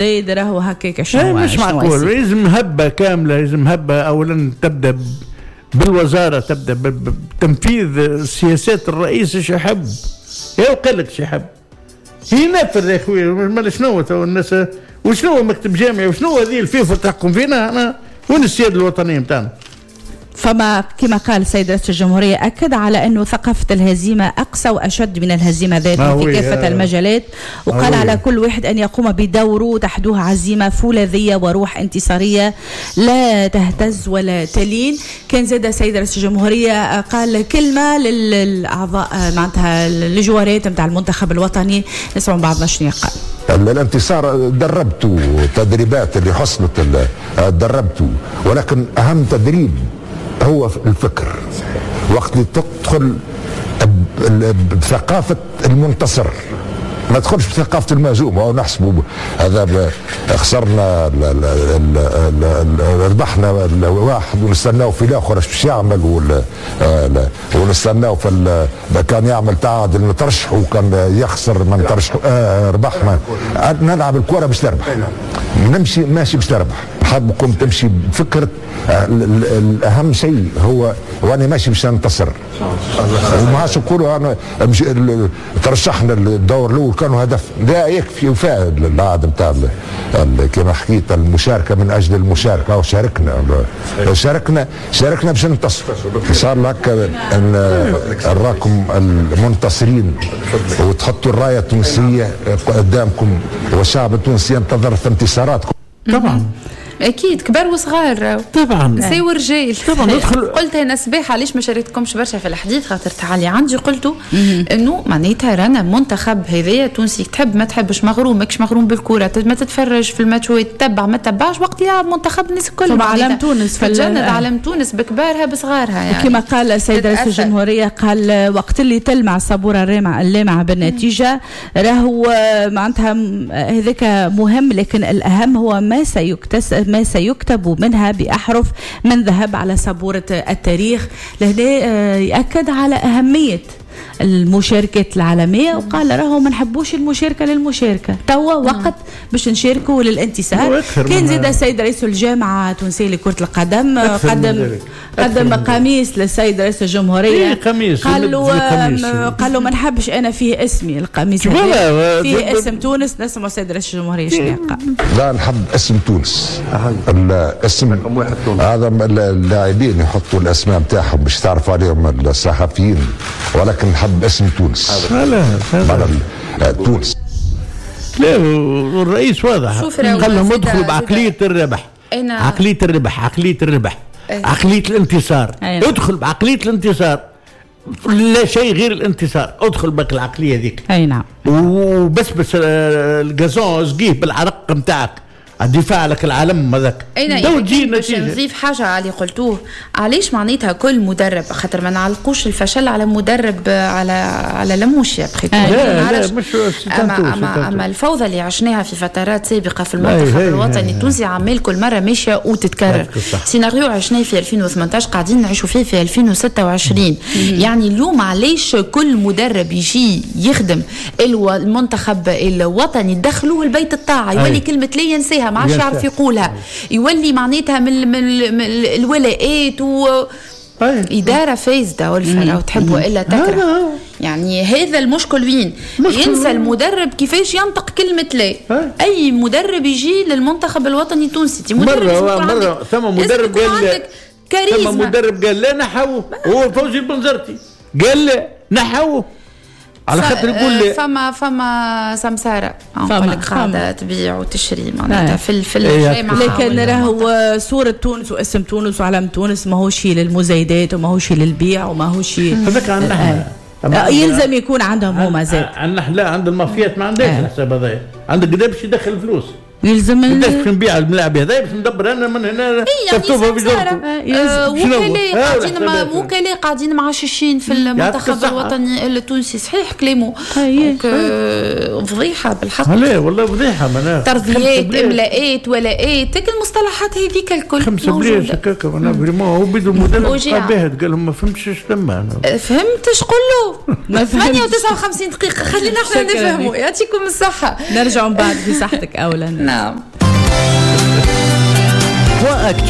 زايد راهو هكاك شنو مش معقول. لازم هبه كاملة، لازم هبه اولا تبدا بالوزارة، تبدا بتنفيذ سياسات الرئيس. ايش يحب؟ يا قال لك ايش يحب؟ ينفذ يا خويا. مال شنو الناس وشنو مكتب جامعي وشنو هذه الفيفا تحكم فينا انا؟ وين السيادة الوطنية نتاعنا؟ فما كما قال السيد رئيس الجمهورية أكد على أنه ثقافة الهزيمة أقسى وأشد من الهزيمة ذاتها في كافة المجالات، وقال على كل واحد أن يقوم بدوره تحدوه عزيمة فولاذية وروح انتصارية لا تهتز ولا تلين. كان زاد السيد رئيس الجمهورية قال كلمة للأعضاء معناتها الجوارات نتاع المنتخب الوطني، نسمعوا بعضنا شنو قال. الانتصار دربته، تدريبات اللي حصلت دربته، ولكن أهم تدريب هو الفكر. وقت اللي تدخل بثقافة المنتصر، ما تدخلش بثقافة المهزوم. أو نحسبوا هذا خسرنا ربحنا واحد ونستناو في الآخر اش باش يعمل، ونستناو في كان يعمل تعادل نترشح، وكان يخسر ما نترشح. ربحنا، نلعب الكرة باش تربح، نمشي ماشي باش تربح. حابكم تمشي بفكرة الأهم شيء هو وأنا ماشي باش ننتصر. وما عادش نقولوا أنا ترشحنا الدور الأول كانوا هدف، لا يكفي وفاء العادة نتاع كما حكيت المشاركة من أجل المشاركة. أو شاركنا شاركنا باش ننتصر. صار لك أن نراكم المنتصرين وتحطوا الراية التونسية قدامكم، والشعب التونسي ينتظر في انتصاراتكم. طبعا اكيد كبار وصغار، طبعا نساء ورجال طبعا. ندخل قلت انا صباح علاش ما شاركتكمش برشا في الحديث، خاطر تعالي عندي قلتوا انه معناتها رانا منتخب هذايا تونسي، تحب ما تحبش، مغروم ماكش مغروم بالكرة، ما تتفرج في الماتشات، تتبع ما تتبعش، وقت يلعب منتخب الناس الكل علم تونس، تجند علم تونس بكبارها بصغارها يعني. كما قال السيد رئيس الجمهورية قال وقت اللي تلمع الصبوره اللامعه بالنتيجة راهو معناتها هذاك مهم، لكن الاهم هو ما سيكتب منها بأحرف من ذهب على سبورة التاريخ. لهنا يأكد على أهمية المشاركات العالمية، وقال راهو ما نحبوش المشاركة للمشاركة، توا وقت باش نشاركوا للانتصار. كان زاد السيد رئيس الجامعة التونسية لكرة القدم قدم قميص للسيد رئيس الجمهورية، قال له ما نحبش أنا فيه اسمي القميص فيه اسم تونس. نسمع السيد رئيس الجمهورية شنو قال. لا نحب اسم تونس، الاسم هذا اللاعبين يحطوا الأسماء نتاعهم باش تعرفوا عليهم الصحفيين، ولكن نحب اسم تونس. لا تونس. لا والرئيس واضح قال لهم ادخلوا بعقلية الربح، عقلية الربح، عقلية الربح، عقلية الانتصار. ادخل بعقلية الانتصار، لا شيء غير الانتصار، ادخل بك العقلية ذيك. اي نعم. وبس بس ال gazon سقيه بالعرق نتاعك، الدفاع لك العالم هذاك. تو تجي نتيجة. نضيف حاجة على اللي قلتوه، علاش معناتها كل مدرب، خاطر ما نعلقوش الفشل على مدرب على لموشيا لا لا مش أما الفوضى اللي عشناها في فترات سابقة في المنتخب الوطني التونسي عمال كل مرة ماشية وتتكرر. سيناريو عشناه في 2018 قاعدين نعيشوا فيه في 2026. يعني اليوم علاش كل مدرب يجي يخدم المنتخب الوطني دخلوه البيت الطاعة، يولي كلمة لا ينساها، ما عادش يعرف يقولها، يولي معناتها من الولاءات و إدارة فاسدة والفرا وتحب وإلا تكره. يعني هذا المشكل وين ينسى المدرب كيفاش ينطق كلمة لا. أي مدرب يجي للمنتخب الوطني التونسي مرة ثم مدرب قال، ثم مدرب قال لا نحوه، هو فوزي البنزرتي قال لا نحوه على خاطر يقول لي فما سمسارة نقول لك قاعدة تبيع وتشري معناتها في الجامعة. لكن راهو صورة تونس واسم تونس وعلم تونس ماهوش للمزايدات وماهوش للبيع وماهوش هذاك عندنا يلزم يكون عندهم هما زاد. عندنا لا عند المافيات ما عندهاش الحساب هذايا، عندك قداش باش يدخل فلوس، يلزم قداش باش نبيع الملاعب هذايا باش ندبر انا من هنا تفتوفه في جرته. وكلاء قاعدين معششين في المنتخب الوطني التونسي. صحيح كلامه فضيحة بالحق. لا والله فضيحة معناها ترضيات املاءات ولاءات المصطلحات هذيك الكل 5 بلاش هكاك. انا vraiment هو بيدو المدرب باهت قال لهم ما فهمتش اش تما. فهمت اش قول له 8:59 دقيقة خلينا احنا نفهموا. يعطيكم الصحة، نرجعوا من بعد في صحتك اولا. نعم. Point Actu.